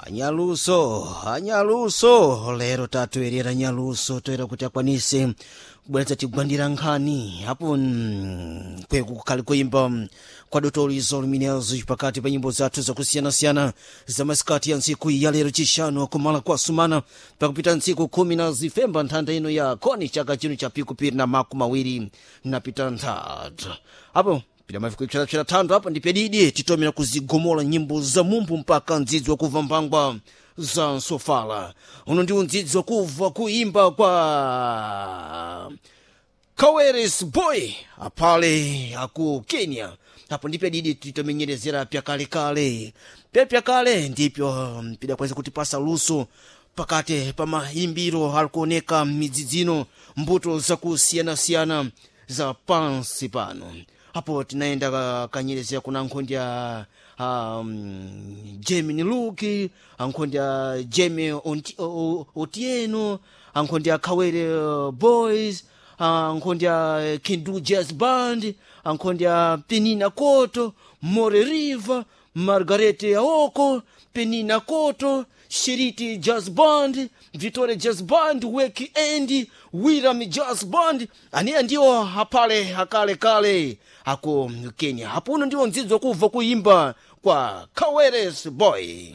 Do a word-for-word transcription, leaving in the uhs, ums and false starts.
Anyaluso, anyaluso, lero tatoerera nyaluso toera kuti akwanise kubweretsa tigwandira nkhani apo mm, kweku kukhali kuimba mm, kwa dotolizo luminezo pakati pa nyimbo zathu zakusiyanasiyana za masikati ya ntsiku ya lero chishanu akumala kwa sumana pakupita ntsiku khumi na zifemba nthanda ino ya koni chaka chino cha pikupiri na makumi awiri napita nthatu apo pita mafikiro psera thando apo ndi pedidi titomera kuzigomola nyimbo za mumbu mpaka mdzidzi wakuva mbangwa za nsofala uno ndi undzidzi wakuva kuimba kwa Kaweres Boy apale aku Kenya apo ndipo didi titomenyerezera pyakalekale pyapyakale ndipyo pidakweza kutipasa luso pakati pa mayimbiro alikuoneka midzidzino mbuto zakusiyanasiyana za pansi pano apo tinaenda ka- kanyerezera kuna nkhondi ya um, Jamie Luki ankhondi ya Jamie Onti- O- O- Otieno ankhondi ya Kawere uh, Boys ankhondi ya Kindu Jazz Band ankhondi ya Penina Koto More River Margaret Aoko Penina Koto Shiriti Jazz Band Victoria Jazz Band Weki Endi Wiram Jazz Band aniya ndiwo hapale hakale kale ako Kenya hapo uno ndiwo ndzidzo kubva kuimba kwa Kaweres Boy.